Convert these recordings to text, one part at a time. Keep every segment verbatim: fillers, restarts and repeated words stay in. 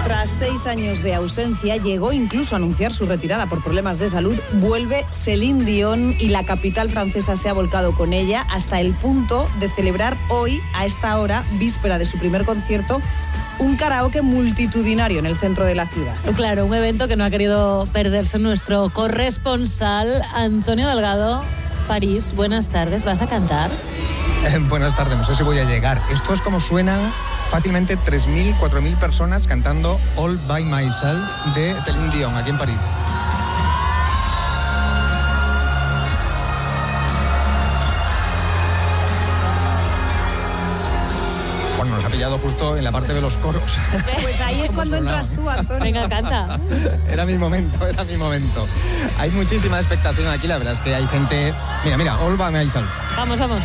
Tras seis años de ausencia, llegó incluso a anunciar su retirada por problemas de salud, vuelve Céline Dion y la capital francesa se ha volcado con ella hasta el punto de celebrar hoy, a esta hora, víspera de su primer concierto, un karaoke multitudinario en el centro de la ciudad. Claro, un evento que no ha querido perderse nuestro corresponsal Antonio Delgado. París, buenas tardes, ¿vas a cantar? Eh, buenas tardes, no sé si voy a llegar. Esto es como suenan fácilmente tres mil, cuatro mil personas cantando All By Myself de Céline Dion aquí en París. Bueno, nos ha pillado justo en la parte de los coros. Pues ahí es cuando entras tú, Antonio. Venga, canta. Era mi momento, era mi momento. Hay muchísima expectación aquí, la verdad es que hay gente... Mira, mira, All By Myself. Vamos, vamos.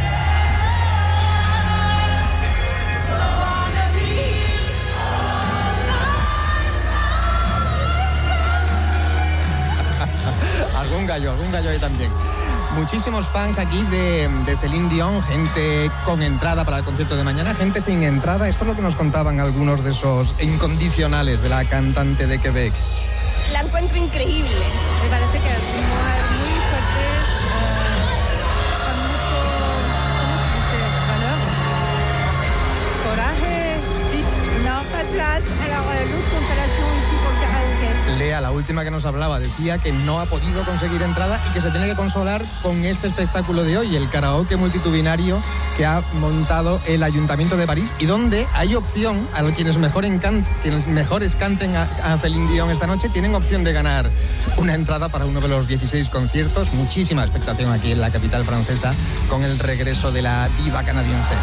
Algún gallo, algún gallo ahí también. Muchísimos fans aquí de, de Céline Dion, gente con entrada para el concierto de mañana, gente sin entrada. Esto es lo que nos contaban algunos de esos incondicionales de la cantante de Quebec. La encuentro increíble. Me parece que es una mujer muy fuerte, eh, con mucho, ¿cómo se dice? Valor, coraje, sí, no, pas place. Alors, l'autre constellation ici pour le karaoké. Lea, la última que nos hablaba, decía que no ha podido conseguir entrada y que se tiene que consolar con este espectáculo de hoy, el karaoke multitudinario que ha montado el Ayuntamiento de París y donde hay opción, a los quienes, mejor encan- quienes mejores canten a, a Céline Dion esta noche, tienen opción de ganar una entrada para uno de los dieciséis conciertos. Muchísima expectación aquí en la capital francesa con el regreso de la diva canadiense.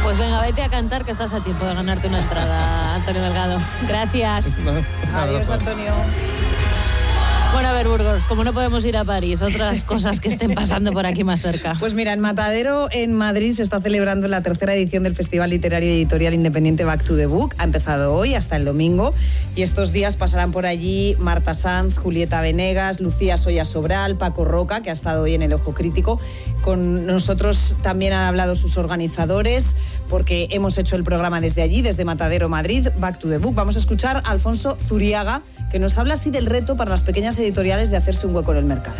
Pues venga, vete a cantar que estás a tiempo de ganarte una entrada, Antonio Delgado. Gracias. Adiós, Antonio. Bueno, a ver, Burgos, como no podemos ir a París, otras cosas que estén pasando por aquí más cerca. Pues mira, en Matadero, en Madrid, se está celebrando la tercera edición del Festival Literario y Editorial Independiente Back to the Book. Ha empezado hoy hasta el domingo y estos días pasarán por allí Marta Sanz, Julieta Venegas, Lucía Soya Sobral, Paco Roca, que ha estado hoy en el Ojo Crítico. Con nosotros también han hablado sus organizadores, porque hemos hecho el programa desde allí, desde Matadero, Madrid, Back to the Book. Vamos a escuchar a Alfonso Zuriaga, que nos habla así del reto para las pequeñas editoriales de hacerse un hueco en el mercado.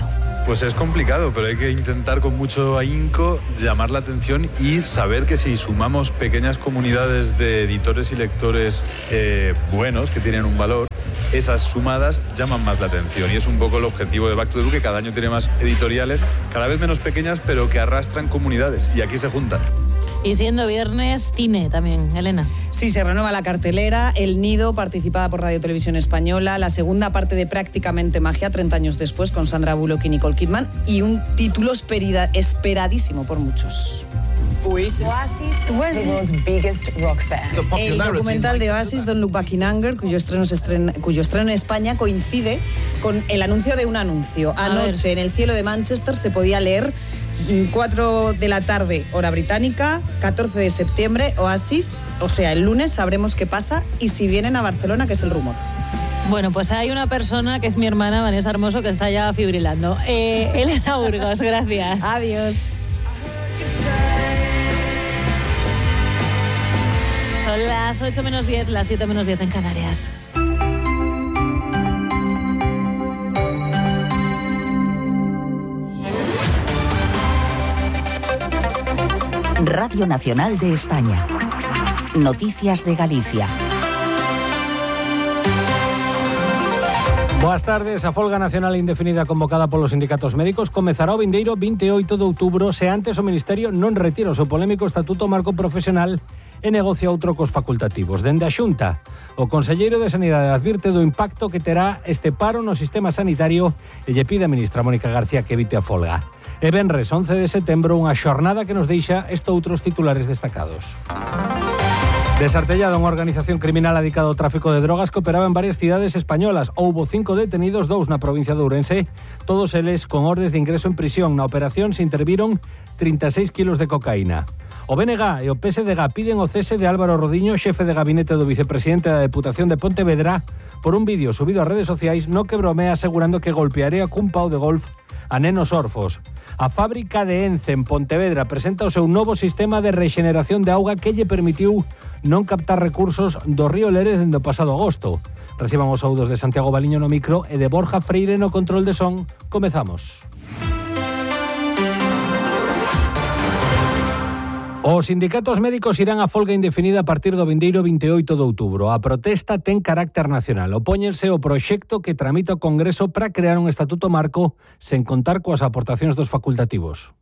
Pues es complicado, pero hay que intentar con mucho ahínco llamar la atención y saber que si sumamos pequeñas comunidades de editores y lectores eh, buenos, que tienen un valor, esas sumadas llaman más la atención. Y es un poco el objetivo de Back to the Book, que cada año tiene más editoriales, cada vez menos pequeñas, pero que arrastran comunidades. Y aquí se juntan. Y siendo viernes, cine también, Elena. Sí, se renueva la cartelera, El Nido, participada por Radio Televisión Española, la segunda parte de Prácticamente Magia, treinta años después, con Sandra Bullock y Nicole Kidman, y un título esperida, esperadísimo por muchos. Oasis, Oasis, the world's biggest rock band. El documental de Oasis, Don't Look Back in Anger, cuyo estreno, se estrena, cuyo estreno en España coincide con el anuncio de un anuncio. Anoche, en el cielo de Manchester, se podía leer cuatro de la tarde, hora británica, catorce de septiembre, Oasis, o sea, el lunes sabremos qué pasa y si vienen a Barcelona, que es el rumor. Bueno, pues hay una persona que es mi hermana, Vanessa Hermoso, que está ya fibrilando. Eh, Elena Burgos, gracias. Adiós. Son las ocho menos diez, las siete menos diez en Canarias. Radio Nacional de España. Noticias de Galicia. Boas tardes. A folga nacional indefinida convocada polos sindicatos médicos comezará o vindeiro vinte e oito de outubro se antes o Ministerio non retira o seu polémico Estatuto Marco Profesional e negocia outro cos facultativos. Dende a Xunta, o conselleiro de Sanidade advirte do impacto que terá este paro no sistema sanitario e lle pide a ministra Mónica García que evite a folga. E venres once de setembro, unha xornada que nos deixa estoutros titulares destacados. Desartellada unha organización criminal adicada ao tráfico de drogas que operaba en varias cidades españolas. Houbo cinco detenidos, dous na provincia de Ourense, todos eles con ordes de ingreso en prisión. Na operación se interviron trinta e seis kilos de cocaína. O B N G e o P S D G piden o cese de Álvaro Rodiño, xefe de gabinete do vicepresidente da Deputación de Pontevedra, por un vídeo subido ás redes sociais no que bromea asegurando que golpearía cun pau de golf a nenos orfos. A fábrica de Ence en Pontevedra presenta o seu novo sistema de rexeneración de auga que lle permitiu non captar recursos do río Lérez dende o pasado agosto. Reciban os saúdos de Santiago Baliño no micro e de Borja Freire no control de son. Comezamos. Os sindicatos médicos irán a folga indefinida a partir do vindeiro vinte e oito de outubro. A protesta ten carácter nacional. Opóñense o proxecto que tramita o Congreso para crear un estatuto marco sen contar coas aportacións dos facultativos.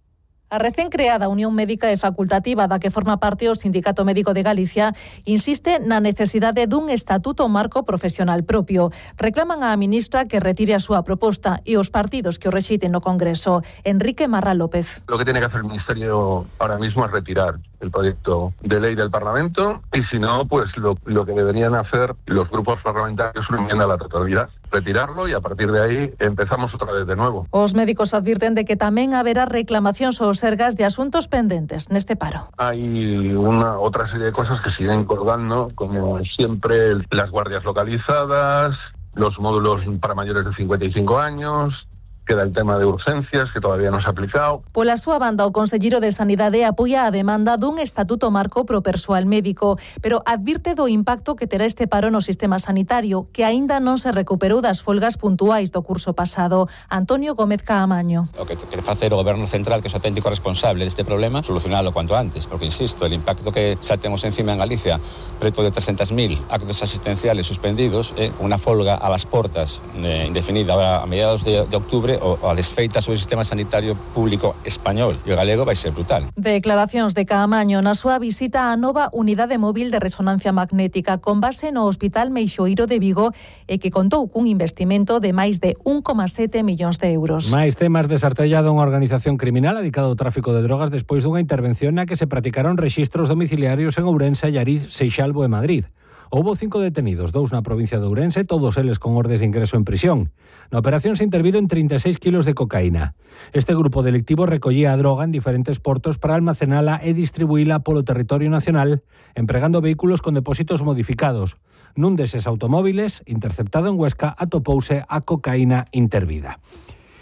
A recén creada Unión Médica e Facultativa da que forma parte o Sindicato Médico de Galicia insiste na necesidade dun estatuto marco profesional propio. Reclaman á ministra que retire a súa proposta e os partidos que o rexeiten no Congreso. Enrique Marra López. Lo que tiene que hacer el Ministerio ahora mismo es retirar el proyecto de ley del Parlamento y si no, pues lo, lo que deberían hacer los grupos parlamentarios es una enmienda a la totalidad. Retirarlo y a partir de ahí empezamos otra vez de nuevo. Os médicos advirten de que tamén haberá reclamacións aos sergas de asuntos pendentes neste paro. Hay una otra serie de cosas que siguen colgando, como siempre las guardias localizadas, los módulos para mayores de cincuenta y cinco años. Queda el tema de urgencias, que todavía non se ha aplicado. Pola súa banda, o conselleiro de Sanidade apoia a demanda dun estatuto marco pro persoal médico, pero advirte do impacto que terá este paro no sistema sanitario, que aínda non se recuperou das folgas puntuais do curso pasado. Antonio Gómez Caamaño. O que quere facer o Goberno Central, que é o auténtico responsable deste problema, solucionalo cuanto antes, porque, insisto, el impacto que xa temos encima en Galicia, preto de trescentos mil actos asistenciales suspendidos, eh, unha folga a las portas eh, indefinida a mediados de, de octubre, o a desfeita sobre o sistema sanitario público español e o galego vai ser brutal. Declaracións de Caamaño na súa visita á nova unidade móvil de resonancia magnética con base no Hospital Meixoeiro de Vigo e que contou cun investimento de máis de un coma sete millóns de euros. Máis temas desartellado unha organización criminal dedicada ao tráfico de drogas despois dunha intervención na que se practicaron rexistros domiciliarios en Ourense, Allariz, Seixalbo e Madrid. Houbo cinco detenidos, dous na provincia de Ourense, todos eles con ordes de ingreso en prisión. Na operación se interviron trinta e seis kilos de cocaína. Este grupo delictivo recollía a droga en diferentes portos para almacenala e distribuíla polo territorio nacional, empregando vehículos con depósitos modificados. Nun deses automóviles, interceptado en Huesca, atopouse a cocaína intervida.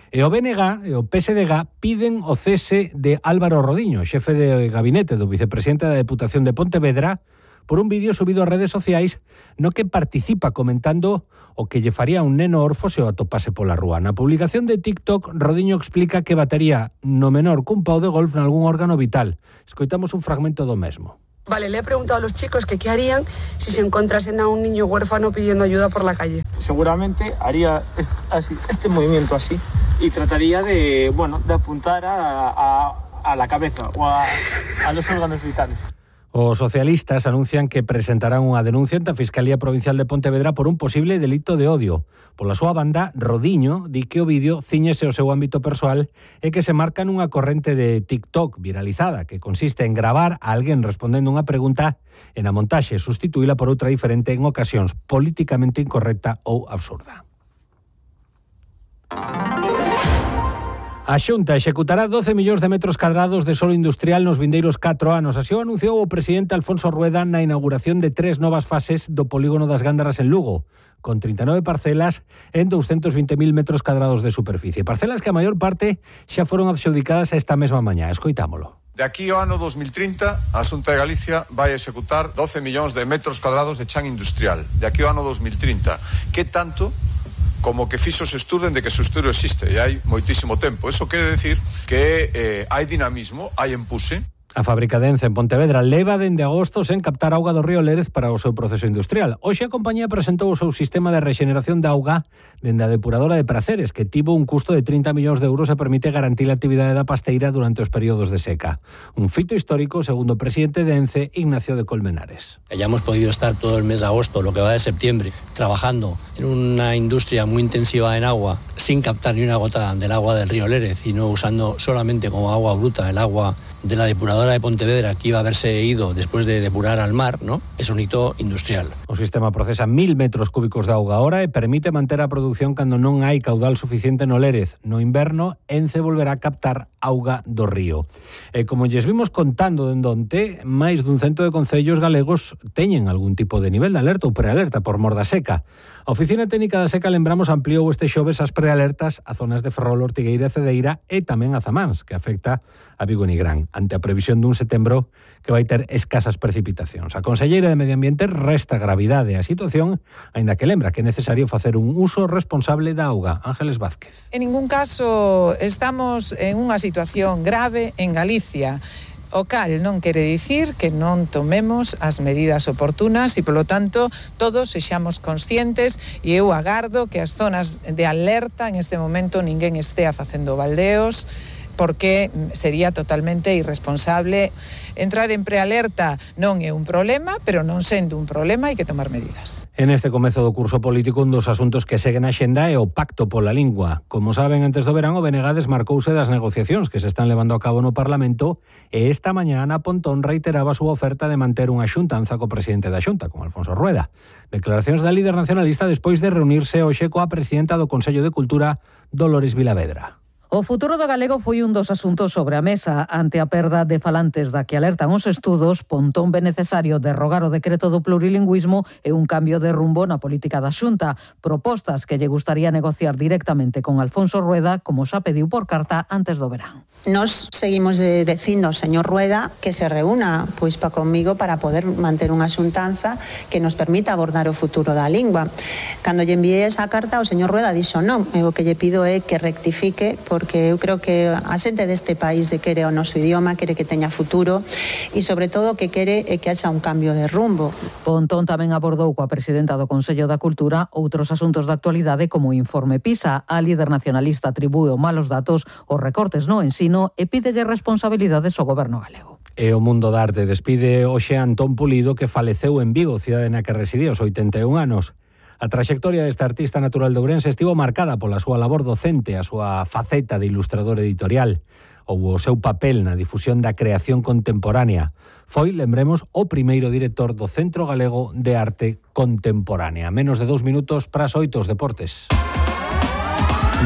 E o B N G e o P S D G piden o cese de Álvaro Rodiño, xefe de gabinete do vicepresidente da Deputación de Pontevedra, por un vídeo subido a redes sociais no que participa comentando o que lle faría un neno orfo se o atopase pola rúa. Na publicación de TikTok, Rodiño explica que batería no menor cun pau de golf nalgún órgano vital. Escoitamos un fragmento do mesmo. Vale, le he preguntado a los chicos que qué harían si se encontrasen a un niño huérfano pidiendo ayuda por la calle. Seguramente haría este, así, este movimiento así y trataría de, bueno, de apuntar a, a, a la cabeza o a, a los órganos vitales. Os socialistas anuncian que presentarán unha denuncia ante a Fiscalía Provincial de Pontevedra por un posible delito de odio. Pola súa banda, Rodiño di que o vídeo ciñese o seu ámbito persoal e que se marca nunha corrente de TikTok viralizada que consiste en gravar a alguén respondendo unha pregunta e na montaxe sustituíla por outra diferente en ocasións políticamente incorrecta ou absurda. A Xunta executará doce millóns de metros cadrados de solo industrial nos vindeiros catro anos. Así o anunciou o presidente Alfonso Rueda na inauguración de tres novas fases do polígono das Gándaras en Lugo, con trinta e nove parcelas en doscientos vinte mil metros cadrados de superficie. Parcelas que a maior parte xa foron adxudicadas esta mesma mañá. Escoitámolo. De aquí ao ano dos mil trinta, a Xunta de Galicia vai executar doce millóns de metros cadrados de chan industrial. De aquí ao ano dos mil trinta. Que tanto como que fixo se estudo de que se estudo existe e hai moitísimo tempo. Eso quere decir que eh, hai dinamismo, hai empuje. A fábrica de Ence en Pontevedra leva dende agosto sen captar auga do río Lérez para o seu proceso industrial. Hoxe a compañía presentou o seu sistema de rexeneración de auga dende a depuradora de Praceres, que tivo un custo de trinta millóns de euros e permite garantir a actividade da pasteira durante os períodos de seca. Un fito histórico, segundo o presidente de Ence, Ignacio de Colmenares. Hayamos podido estar todo el mes de agosto, lo que va de septiembre, trabajando en una industria muy intensiva en agua, sin captar ni una gota del agua del río Lérez, y no usando solamente como agua bruta el agua de la depuradora de Pontevedra, que iba a haberse ido después de depurar al mar, ¿no? Es un hito industrial. O sistema procesa mil metros cúbicos de auga hora e permite manter a produción cando non hai caudal suficiente no Lérez. No inverno, Ence volverá a captar auga do río. E como lles vimos contando dende onte, máis dun cento de concellos galegos teñen algún tipo de nivel de alerta ou prealerta por mor da seca. A Oficina Técnica da Seca, lembramos, ampliou este xoves as prealertas a zonas de Ferrol, Ortigueira e Cedeira e tamén a Zamáns, que afecta a Vigo e Nigrán. ante a previsión dun setembro que vai ter escasas precipitacións. A conselleira de Medio Ambiente resta gravidade á situación, aínda que lembra que é necesario facer un uso responsable da auga. Ángeles Vázquez. En ningún caso estamos en unha situación grave en Galicia. O cal non quere dicir que non tomemos as medidas oportunas e, polo tanto, todos sexamos conscientes e eu agardo que as zonas de alerta en este momento ninguén estea facendo baldeos, porque sería totalmente irresponsable. Entrar en prealerta non é un problema, pero non sendo un problema hai que tomar medidas. En este comezo do curso político, un dos asuntos que seguen a xenda é o pacto pola lingua. Como saben, antes do verán, o B N G desmarcouse das negociacións que se están levando a cabo no Parlamento e esta mañá Ana Pontón reiteraba a súa oferta de manter unha xuntanza co presidente da Xunta, con Alfonso Rueda. Declaracións da líder nacionalista despois de reunirse hoxe coa presidenta do Consello de Cultura, Dolores Vilavedra. O futuro do galego foi un dos asuntos sobre a mesa. Ante a perda de falantes da que alertan os estudos, Pontón ve necesario derrogar o decreto do plurilingüismo e un cambio de rumbo na política da Xunta. Propostas que lle gustaría negociar directamente con Alfonso Rueda, como xa pediu por carta antes do verán. Nos seguimos de, dicindo ao señor Rueda que se reúna pois pa comigo para poder manter unha xuntanza que nos permita abordar o futuro da lingua. Cando lle enviei esa carta, o señor Rueda dixo non, e o que lle pido é que rectifique, porque eu creo que a xente deste país quere o noso idioma, quere que teña futuro e, sobre todo, que quere é que haxa un cambio de rumbo. Pontón tamén abordou coa presidenta do Consello da Cultura outros asuntos da actualidade como o informe PISA. A líder nacionalista atribúe malos datos os recortes no ensino e pídelle responsabilidades ao goberno galego. E o mundo da arte despide hoxe a Antón Pulido, que faleceu en Vigo, cidade na que residía aos oitenta e un anos. A traxectoria deste artista natural de Ourense estivo marcada pola súa labor docente, a súa faceta de ilustrador editorial, ou o seu papel na difusión da creación contemporánea. Foi, lembremos, o primeiro director do Centro Galego de Arte Contemporánea. Menos de dous minutos para as oito, os deportes.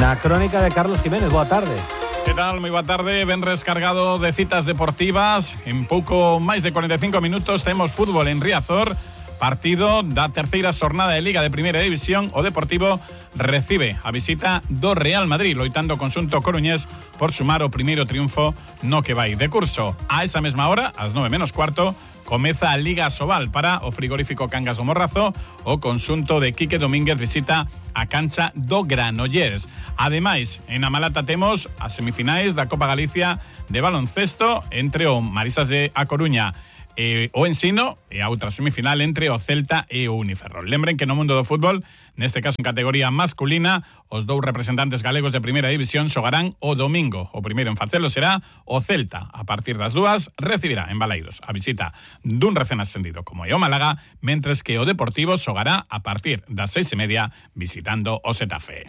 Na crónica de Carlos Jiménez, boa tarde. Que tal? Moi boa tarde, ben rescargado de citas deportivas. En pouco máis de cuarenta e cinco minutos temos fútbol en Riazor. Partido da terceira xornada de Liga de Primeira División. O Deportivo recibe a visita do Real Madrid, loitando o conxunto coruñés por sumar o primeiro triunfo no que vai de curso. A esa mesma hora, ás nove menos cuarto, comeza a Liga Sobal para o frigorífico Cangas do Morrazo. O conxunto de Quique Domínguez visita a cancha do Granollers. Ademais, en A Malata temos as semifinais da Copa Galicia de baloncesto entre o Marisas de A Coruña e o Ensino, e a outra semifinal entre o Celta e o Uniferrol. Lembren que no mundo do fútbol, neste caso en categoría masculina, os dous representantes galegos de Primeira División xogarán o domingo. O primeiro en facelo será o Celta. A partir das dúas recibirá en Balaídos a visita dun recén ascendido como é o Málaga, mentres que o Deportivo xogará a partir das seis e media visitando o Xetafe.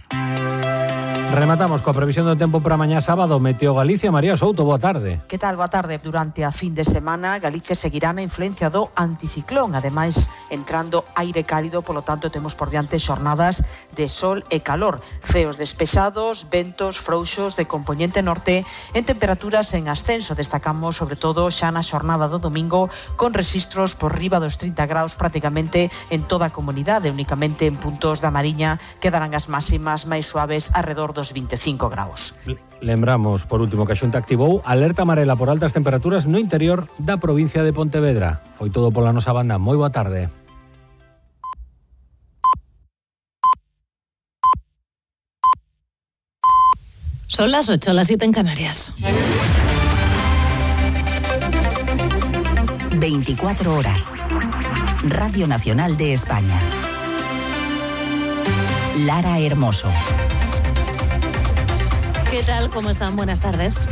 Rematamos coa previsión do tempo para mañá sábado. Meteo Galicia, María Souto, boa tarde. Que tal, boa tarde? Durante a fin de semana, Galicia seguirá na influencia do anticiclón, ademais entrando aire cálido, polo tanto temos por diante xornadas de sol e calor, ceos despexados, ventos frouxos de compoñente norte, en temperaturas en ascenso. Destacamos sobre todo xa na xornada do domingo, con registros por riba dos trinta graus prácticamente en toda a comunidade. Únicamente en puntos da Mariña quedarán as máximas máis suaves arredor dos vinte e cinco graus. Lembramos, por último, que a Xunta activou alerta amarela por altas temperaturas no interior da provincia de Pontevedra. Foi todo pola nosa banda. Moi boa tarde. Son las ocho, las siete en Canarias. veinticuatro horas. Radio Nacional de España. Lara Hermoso. ¿Qué tal? ¿Cómo están? Buenas tardes.